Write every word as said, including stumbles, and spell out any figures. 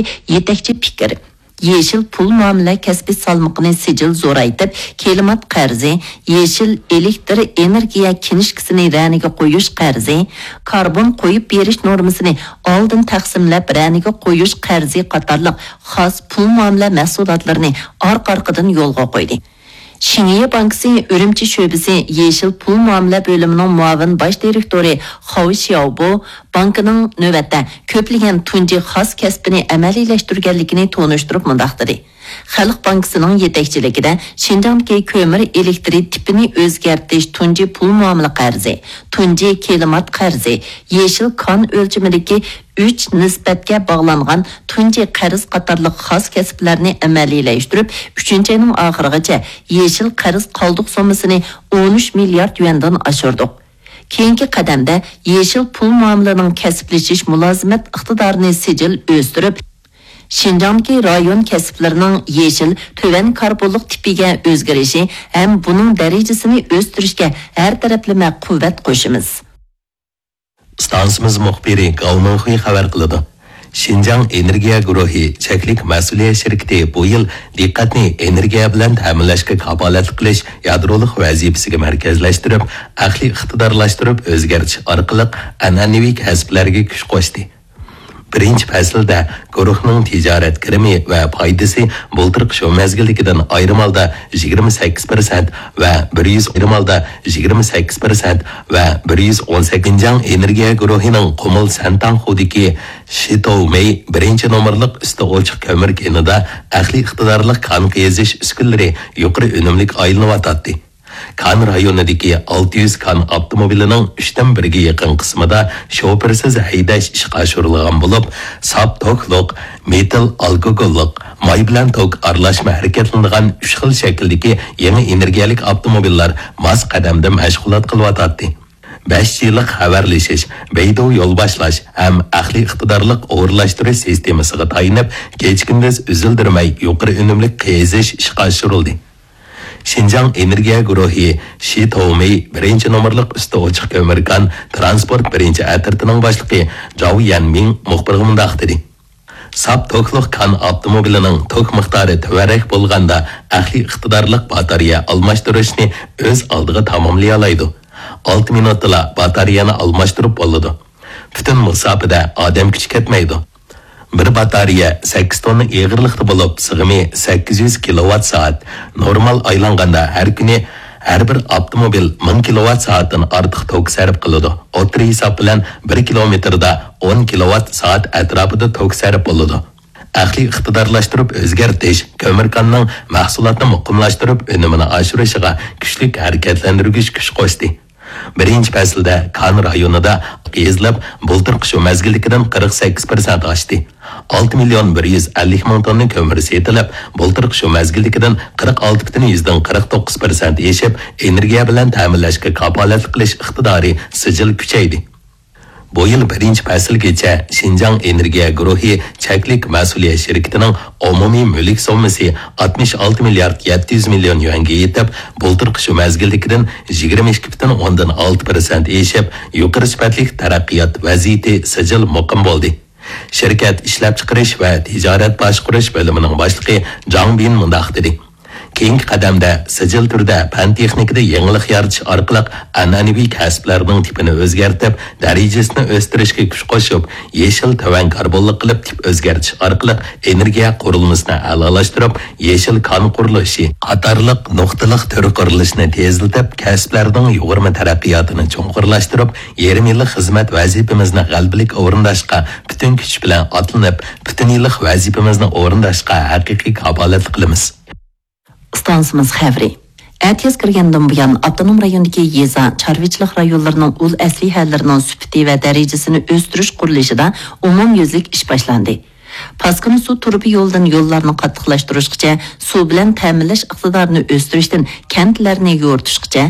يېتەكچى پىكىر. يېشىل پۇل مۇئامىلە كەسپى سالمىقىنى سىجىل زورايتىپ، كىلىمات قەرزى، يېشىل ئېلېكتر ئېنېرگىيە كىنىشكىسىنى رەنىگە قويۇش قەرزى، كاربون قويۇپ بېرىش نورمىسىنى ئالدىن تەقسىملەپ رەنىگە قويۇش قەرزى قاتارلىق خاس پۇل مۇئامىلە مەھسۇلاتلىرىنى ئارقا-ئارقىدىن يولغا قويدى. شىنجيې بانكىسى ئۈرۈمچى شۆبىسى يېشىل پۇل مۇئامىلە بۆلۈمىنىڭ مۇئاۋىن باش دىرېكتورى خاۋ شياۋبو بانكىنىڭ نۆۋەتتە كۆپلىگەن تۇنجى خاس كەسپىنى ئەمەلىيلەشتۈرگەنلىكىنى تونۇشتۇرۇپ مۇنداق دېدى: خەلق بانكىسىنىڭ يېتەكچىلىكىدە شىنجاڭدىكى كۆمۈر ئېلېكترى تىپىنى ئۆزگەرتىش تۇنجى پۇل مۇئامىلە قەرزى، تۇنجى كىلىمات قەرزى، يېشىل كان ئۆلچىمىدىكى ئۈچ نىسبەتكە باغلانغان تۇنجى قەرز قاتارلىق خاس كەسىپلەرنى ئەمەلىيلەشتۈرۈپ، ئۈچىنچى ئاينىڭ ئاخىرىغىچە يېشىل قەرز قالدۇق سوممىسىنى ئون ئۈچ مىليارد يۈەندىن ئاشۇردۇق. كېيىنكى قەدەمدە يېشىل پۇل مۇئامىلىنىڭ كەسىپلىشىش مۇلازىمەت ئىقتىدارىنى سىجىل ئۆستۈرۈپ، شىنجاڭدىكى رايون كەسىپلىرىنىڭ يېشىل تۆۋەن كاربونلۇق تىپىگە ئۆزگىرىشى ھەم بۇنىڭ دەرىجىسىنى ئۆستۈرۈشكە ھەر تەرەپلىمە قۇۋۋەت قوشىمىز. ئىستانسىمىز مۇخبىرى گاۋ مىڭخۇي خەۋەر قىلىدۇ. شىنجاڭ ئېنېرگىيە گۇرۇھى چەكلىك مەسئۇلىيەت شىركىتى بۇ يىل دىققەتنى ئېنېرگىيە بىلەن تەمىنلەشكە كاپالەتلىك قىلىش يادرولۇق ۋەزىپىسىگە مەركەزلەشتۈرۈپ، ئەقلىي ئىقتىدارلاشتۇرۇپ ئۆزگەرتىش ئارقىلىق ئەنئەنىۋى كەسىپلەرگە كۈچ قوشتى. بىرىنچى پەسىلدە گۇرۇھنىڭ تىجارەت كىرىمى ۋە پايدىسى بۇلتۇرقى شۇ مەزگىلدىكىدىن ئايرىم ھالدا يىگىرمە سەككىز پىرسەنت ۋە بىر يۈز، ئايرىم ھالدا يىگىرمە سەككىز پىرسەنت ۋە بىر يۈز ئون سەككىز. شىنجاڭ ئېنېرگىيە گۇرۇھىنىڭ قۇمۇل سەنتاڭخۇدىكى شىتوۋمېي بىرىنچى نومۇرلۇق ئۈستى ئوچۇق كۆمۈر كېنىدا ئەقلىي ئىقتىدارلىق كان قېزىش ئۈسكۈنىلىرى يۇقىرى ئۈنۈملۈك ئايلىنىۋاتاتتى. كان رايونىدىكى ئالتە يۈز كان ئاپتوموبىلىنىڭ ئۈچتىن بىرىگە يېقىن قىسمىدا شوپۇرسىز ھەيدەش ئىشقا ئاشۇرۇلغان بولۇپ، ساپ توكلۇق، مېتىل ئالكوگوللۇق، ماي بىلەن توك ئارىلاشما ھەرىكەتلىنىدىغان ئۈچ خىل شەكىلدىكى يېڭى ئېنېرگىيەلىك ئاپتوموبىللار ماس قەدەمدە مەشغۇلات قىلىۋاتاتتى. بەش جىلىق خەۋەرلىشىش، بەيدۇ يول باشلاش ھەم ئەقلىي ئىقتىدارلىق ئورۇنلاشتۇرۇش سىستېمىسىغا تايىنىپ، كېچە-كۈندۈز ئۈزۈلدۈرمەي يۇقىرى ئۈنۈملۈك قېزىش ئىشقا ئاشۇرۇلدى. شىنجاڭ ئېنېرگىيە گۇرۇھى شى توۋمېي بىرىنچى نومۇرلۇق ئۈستى ئوچۇق كۆمۈر كان تىرانسپورت بىرىنچى ئەترىتىنىڭ باشلىقى جاۋ يەنمىڭ مۇخبىرغا مۇنداق دېدى: ساپ توكلۇق كان ئاپتوموبىلىنىڭ توك مىقدارى تۆۋەنرەك بولغاندا، ئەقلىي ئىقتىدارلىق باتارېيە ئالماشتۇرۇشنى ئۆز ئالدىغا تاماملىيالايدۇ. ئالتە مىنۇتتىلا باتارېيەنى ئالماشتۇرۇپ بولىدۇ. پۈتۈن مۇساپىدە ئادەم كۈچى كەتمەيدۇ. بىر باتارېيە سەككىز توننا ئېغىرلىقتا بولۇپ، سىغىمى سەككىز يۈز كىلوۋات سائەت. نورمال ئايلانغاندا ھەر كۈنى ھەر بىر ئاپتوموبىل مىڭ كىلوۋات سائەتتىن ئارتۇق توك سەرپ قىلىدۇ. ئوتتۇرا ھېساب بىلەن بىر كىلومېتىردا ئون كىلوۋات سائەت ئەتراپىدا توك سەرپ بولىدۇ. ئەقلىي ئىقتىدارلاشتۇرۇپ ئۆزگەرتىش كۆمۈر كاننىڭ مەھسۇلاتنى مۇقىملاشتۇرۇپ، ئۈنۈمىنى ئاشۇرۇشىغا كۈچلۈك ھەرىكەتلەندۈرگۈچ كۈچ قوشتى. بىرىنچى پەسىلدە كان رايونىدا قېزىلىپ، بۇلتۇرقى شۇ مەزگىلدىكىدىن قىرىق سەككىز پىرسەنت ئاشتى. ئالتە مىليون بىر يۈز ئەللىك مىڭ توننا كۆمۈر سېتىلىپ، بۇلتۇرقى شۇ مەزگىلدىكىدىن قىرىق ئالتە پۈتۈن يۈزدىن قىرىق توققۇز پىرسەنت ئېشىپ، ئېنېرگىيە بىلەن تەمىنلەشكە كاپالەتلىك قىلىش ئىقتىدارى سىجىل كۈچەيدى. بۇ يىل بىرىنچى پەسىلگىچە شىنجاڭ ئېنېرگىيە گۇرۇھى چەكلىك مەسئۇلىيەت شىركىتىنىڭ ئومۇمىي مۈلۈك سوممىسى ئاتمىش ئالتە مىليارد يەتتە يۈز مىليون يۈەنگە يېتىپ، بۇلتۇرقى شۇ مەزگىلدىكىدىن يىگىرمە ئىككى پۈتۈن ئوندىن ئالتە پىرسەنت ئېشىپ، يۇقىرى سۈپەتلىك تەرەققىيات ۋەزىيىتى سىجىل مۇقىم بولدى. شىركەت ئىشلەپچىقىرىش ۋە تىجارەت باشقۇرۇش بۆلۈمىنىڭ باشلىقى جاڭ بىن مۇنداق دېدى: كېيىنكى قەدەمدە سىجىل تۈردە پەن-تېخنىكىدا يېڭىلىق يارىتىش ئارقىلىق ئەنئەنىۋى كەسىپلەرنىڭ تىپىنى ئۆزگەرتىپ، دەرىجىسىنى ئۆستۈرۈشكە كۈچ قوشۇپ، يېشىل تۆۋەن كاربونلۇق قىلىپ تىپ ئۆزگەرتىش ئارقىلىق ئېنېرگىيە قۇرۇلمىسىنى ئەلالاشتۇرۇپ، يېشىل كان قۇرۇلۇشى قاتارلىق نۇقتىلىق تۈر قۇرۇلۇشىنى تېزلىتىپ، كەسىپلەرنىڭ يۇغۇرما تەرەققىياتىنى چوڭقۇرلاشتۇرۇپ، يېرىم يىللىق خىزمەت ۋەزىپىمىزنى غەلىبىلىك ئورۇنداشقا پۈتۈن كۈچ بىلەن ئاتلىنىپ، پۈتۈن يىللىق ۋەزىپىمىزنى ئورۇنداشقا ھەقىقىي كاپالەتلىك قىلىمىز. ئىستانسىمىز خەۋىرى. ئەتىياز كىرگەندىن بۇيان، ئاپتونوم رايوندىكى يېزا، چارۋىچىلىق رايونلىرىنىڭ ئۇل ئەسلىھەلىرىنىڭ سۈپىتى ۋە دەرىجىسىنى ئۆستۈرۈش قۇرۇلۇشىدا ئومۇميۈزلۈك ئىش باشلاندى. پاسكىنا سۇ تۇرۇبا يولىدىن يوللارنى قاتتىقلاشتۇرۇشقىچە، سۇ بىلەن تەمىنلەش ئىقتىدارىنى ئۆستۈرۈشتىن كەنتلەرنى يورۇتۇشقىچە،